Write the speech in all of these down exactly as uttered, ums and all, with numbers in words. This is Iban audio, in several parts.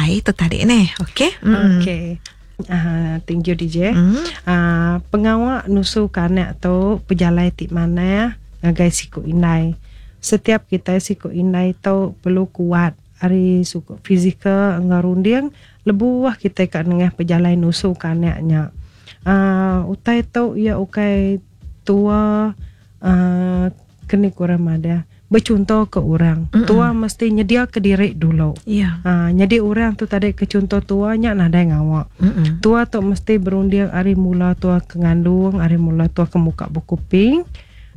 indai tu tadi neh. Okey. Mm. Okey. Uh, thank you D J. Mm. Uh, pengawa nusu ke anak tu pejalai ti manah ngagai siku indai. Setiap kita siku indai tu perlu kuat ari suku fizikal enggau runding lebuh kita kat nengah pejalai nusu ke anaknya. Uh, utai tu ia ukai tua uh, kena kurang madah bercontoh ke orang. Mm-mm. Tua mesti nyedia ke diri dulu. Ya. Ha, jadi orang tu tadi ke contoh tua nya nadai ngawak. Mm-mm. Tua tu mesti berunding ari mula tua ke ngandung, ari mula tua ke muka buku ping.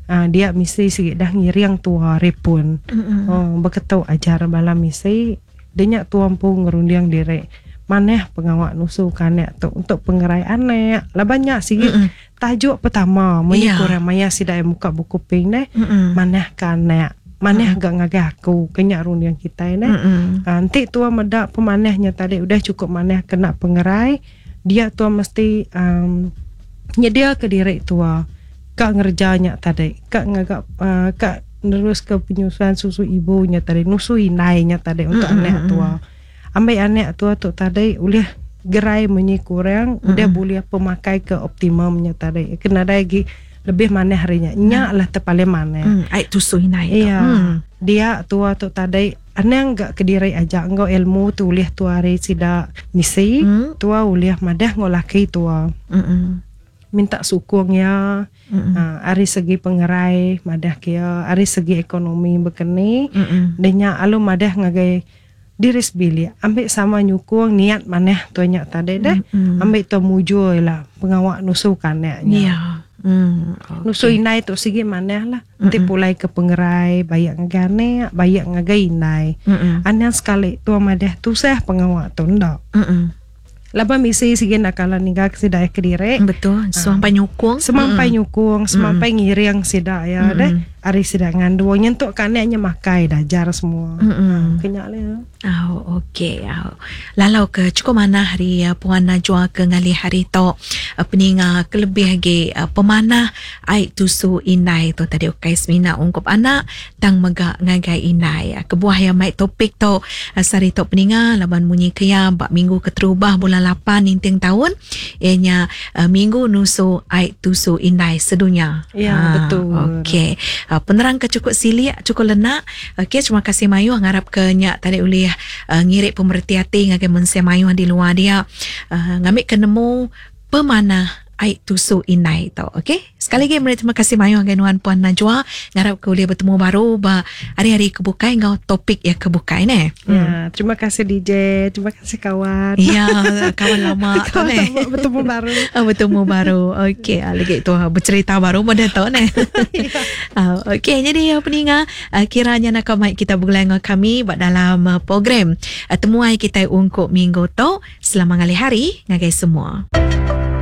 Ha, dia mesti sikit dah ngiring tua repun. Oh, berketuk ajar bala misi. Dia nya tua pun ngerunding diri. Maneh pengawak nusu kanek tu untuk pengerai anak. Lah banyak sikit tajuk pertama munyi Ya. kurang maya sidai muka buku ping neh. Mm-mm. Maneh kanek. Maneh gak ngagai aku kenyak runding kita neh. Mm-mm. Ha, nanti tua medak pemanehnya tadi udah cukup maneh kena pengerai, dia tua mesti um, nyedia ke diri tua kak ngerjanya tadi, kak ngagak uh, kak nerus ke penyusuan susu ibunya tadi, nusu indainya tadi untuk Mm-mm. anak tua. Ambil anak tua tu tadi ulih gerai munyi kurang, Mm-mm. udah boleh pemakai ke optimumnya tadi. Kena ada lagi lebih maneh harinya. Nyak lah terpaling maneh. Mm, ai tusu indai tu. Iya. Mm. Dia tua tu tadi anang gak kediri aja engkau ilmu tu ulih tua hari sida misi, Mm. tua ulih madah ngau laki tua. Mm-mm. Minta sukung ya. Mm-mm. Ha, ari segi pengerai madah kia, ari segi ekonomi bekeni. Mm-mm. Dia nyak alu madah ngagai diri sebilik ambil sama nyukung niat maneh tua nyak tadi deh. Mm-mm. Ambil tua mujur lah pengawak nusu kanaknya. Ya. Mm. Okay. Nusu indai tu sigi maneh lah. Nanti pulai ke pengerai, bayak ngagai anak, bayak ngagai indai. Mm-mm. Anang sekali tua madah tusah pengawak tu ndak. Mm-mm. Laba misi sigi nak kalah ninggal ke sidai ke diri. Betul. Semampai nyukung. Semampai nyukung, semampai ngiring sida ya Mm-mm. deh. Ari sida ngandung nyentuk kanaknya makai dajar semua. Mm-mm. Kenyak le. Oh, okey. Oh. Lalau ke cukup manah hari uh, Puan Najwa ke ngalih hari tu uh, peninga kelebih lagi uh, pemanah ai tusu indai tu tadi ukai semina ungkup anak tang mega ngagai indai. Uh, kebuah yang mai topik tu uh, sari tu peninga laban munyi kia bak minggu keterubah bulan lapan ninting tahun ianya uh, minggu nusu ai tusu indai sedunia. Ya, Ah, betul. Okey. Uh, penerang ke cukup silik, cukup lenak. Okey, terima kasih mayu ngarap ke nyak tadi ulih uh, ngirik pemerhati hati ngagai mensia mayu di luar dia. Uh, ngambil ke nemu pemanah ai tusu indai tu. Okey. Sekali lagi meri terima kasih mayu ngagai nuan Puan Najwa. Ngarap ke ulih bertemu baru ba hari-hari kebukai ngau topik yang kebukai ne. Ya, terima kasih D J, terima kasih kawan. Ya, kawan lama tu Kawan ne. lama bertemu baru. Ah, bertemu baru. Okey, ah, lagi tu ah, bercerita baru pun dah tahu ne. Ah, okey, jadi ah, peninga ah, kiranya nak mic kita bergulai dengan kami buat dalam ah, program ah, temuai kita ungkup minggu tu. Selamat ngalih hari ngagai semua.